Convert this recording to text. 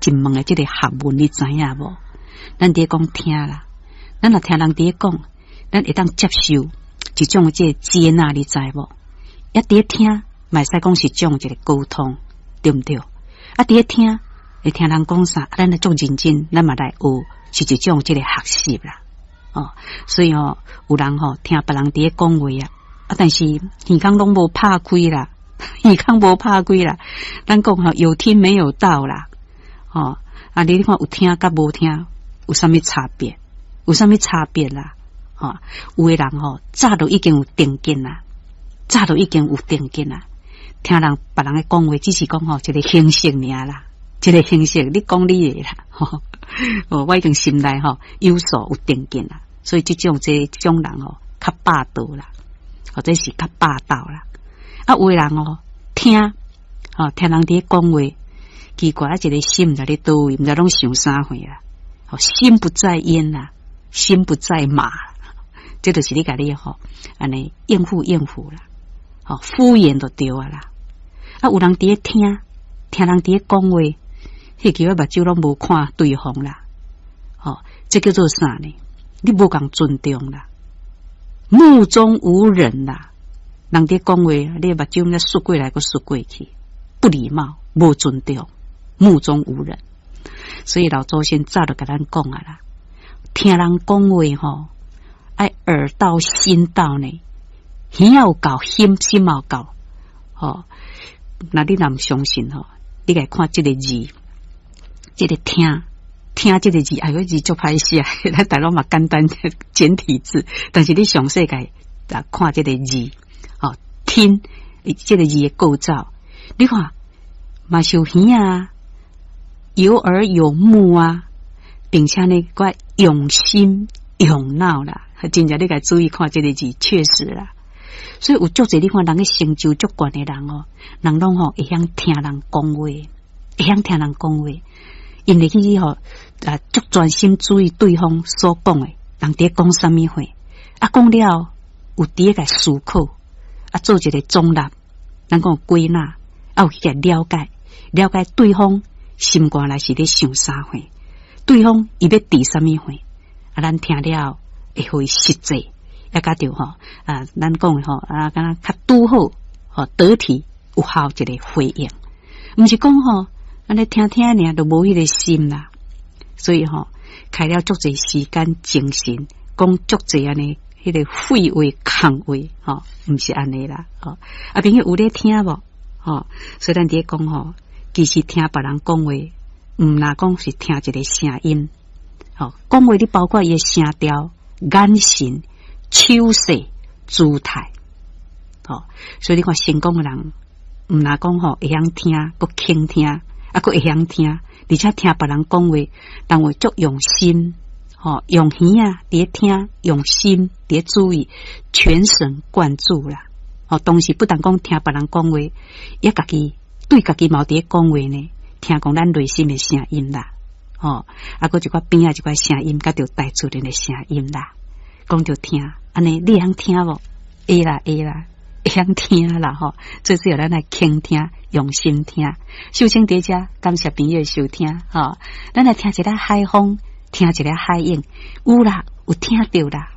一門的這个學問，你知影無？咱佇咧講聽啦，咱若聽人佇咧講，咱會當接受一種這个接納，你知無？抑佇咧聽，嘛會使講是種一个溝通，對毋對？啊，佇咧聽，會聽人講啥，咱來足認真，咱嘛來學，是一種這个學習啦。哦，所以吼，有人吼聽別人佇咧講話啊，啊，但是耳孔攏無拍開啦，耳孔無拍開啦。咱講吼，有聽沒有到啦。吼，啊，你看有聽佮無聽有啥物差別？有啥物差別啦？吼，有的人吼早就已經有定見啦，早就已經有定見啦。聽人別人咧講話，只是講吼一个形式爾啦，一个形式，你講你的啦。哦，我已經心內吼有所有定見啦，所以這種人吼較霸道啦，或者是較霸道啦。啊，有的人哦聽，吼聽人佇咧講話，奇怪啊，一个心毋知咧佗位，毋知攏想啥貨啦。吼，心不在焉啦，心不在馬，這就是你共你吼按呢應付應付啦，吼敷衍就對啊啦。啊，有人佇咧聽，聽人佇咧講話，彼個目睭攏無看對方啦，吼，這叫做啥呢？你無共尊重啦，目中無人啦。人佇講話，你目睭呢睏過來閣睏過去，不禮貌，無尊重，目中無人。所以老祖先早就共咱講啊啦，聽人講話吼，愛耳到心到呢，耳有夠，心心有夠，吼。那你若毋相信吼，你來看這个字，這个聽聽這个字，哎喲，字足歹寫，咱大陸嘛簡單簡體字，但是你詳細共來看這个字，吼，聽這个字的構造，你看嘛是有耳啊，有耳有目啊，並且呢，閣用心用腦啦，真正你共注意看這个字，確實啦。所以有足濟你看人个成就足懸的人哦，人攏吼會曉聽人講話，會曉聽人講話，𪜶會去吼啊，足專心注意對方所講的，人佇咧講啥物話，啊講了有佇咧共思考，啊做一个總納，咱講歸納，啊有去共了解，了解對方心肝內是咧想啥貨，對方伊欲佇啥物貨，啊咱聽了會予伊實際。也佮著吼啊，咱講的吼啊，敢若較拄好吼得體有效一个回應，毋是講吼按呢聽聽爾就無彼个心啦。所以吼，開了足濟時間精神，講足濟按呢彼个廢話空話吼，毋是按呢啦。吼，啊，朋友有咧聽無？吼，所以咱佇咧講吼，其實聽別人講話，毋若講是聽一个聲音，吼，講話你包括伊的聲調、眼神、手勢、姿態，吼，所以你看成功的人，毋若講吼會曉聽，閣傾聽，啊，閣會曉聽，而且聽別人講話，人會足用心，吼，用耳啊佇咧聽，用心佇咧注意，全神貫注啦。吼，當時不但講聽別人講話，也家己對家己嘛佇咧講話呢，聽講咱內心的聲音啦，吼，啊，閣一寡邊仔一寡聲音，佮著大自然的聲音啦，講著聽。按呢，你會曉聽無？會啦，會啦，會曉聽啦吼。最主要咱來傾聽，用心聽。秀清佇遮，感謝朋友的收聽吼。咱來聽一下海風，聽一下海湧，有啦，有聽著啦。